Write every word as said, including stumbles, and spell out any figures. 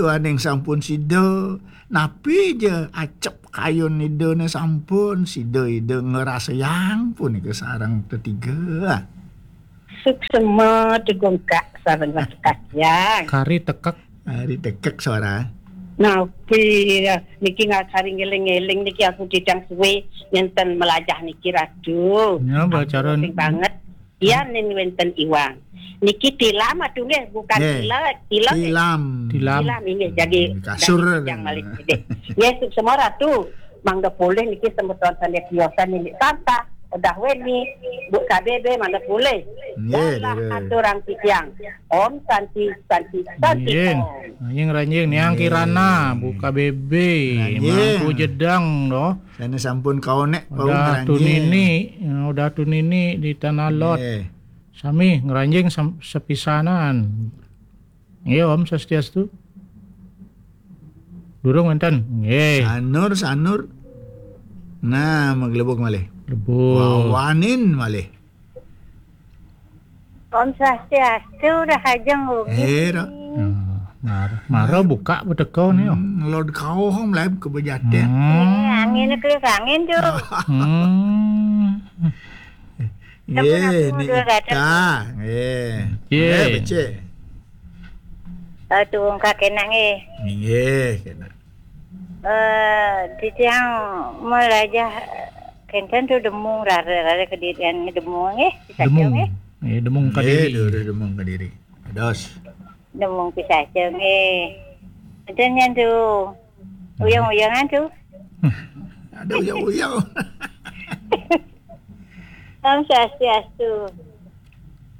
Aning sampun sida, napi ja acep kayun idane sampun sida ida ngrasayang punika sareng tetiga. Suksma degungkak sareng kasiang. Kari tekek. Kari tekek suara. Napi niki nggak kari ngeling-ngeling niki aku didang suwe nenten melajah niki Ratu. Ya, bacara banget. Iya, nin wenten iwang. Niki tilam atuh nggih, bukan Nggih. Tila, tila. Tilam. Tilam. Tilam ini jadi Kasur. Yang malih gede. Nggih, suksma Ratu. Mangga polih niki semeton sane tiosan niki santa. Udah weni, Bu K B B mangga polih. Nggih, Dalah nggih. Aturang titiang. Om Santi, Santi, Santi. Nggih. Om. Ranjing, ranjing, niang Nggih. Kirana, Bu K B B, Ranjing. Mangku Jedang, doh. Sana sampun kaonek, Pak Udah Ranjing. Tunini, ya, udah tunini di Tanah Lot. Nggih. Sami ngranjing sam-, sepisanan. Nggih, Om Swastiastu. Durung wenten. Nggih. Sanur, sanur. Nah, maglebuk malih. Lebuk. Wawanin malih. Om Swastiastu, dah ajeng ugi. Eh, dah. Ya, mar-, mara buka beteko ni, oh. Hmm, lod kau hong lab ke bejaten. Hmm. Eh, angin ke angin tu. Hmm. Sampun Nggih, aku ni mundur kata. Ita. Nggih. Nggih. Eh, becik. Eh, tunggu kakek nak nggih. Nggih, kena. Eh, titiang melajah kenten tu demung rara, rara kedirian demung nggih, di Sacong Demung. Nggih. Nggih, demung Nggih, kediri. Dulu demung kediri. Dos. Demung Pisacong nggih. Kenten nyan tu. Uyang-uyangan tu. Ada uyang-uyang. Om Swastiastu.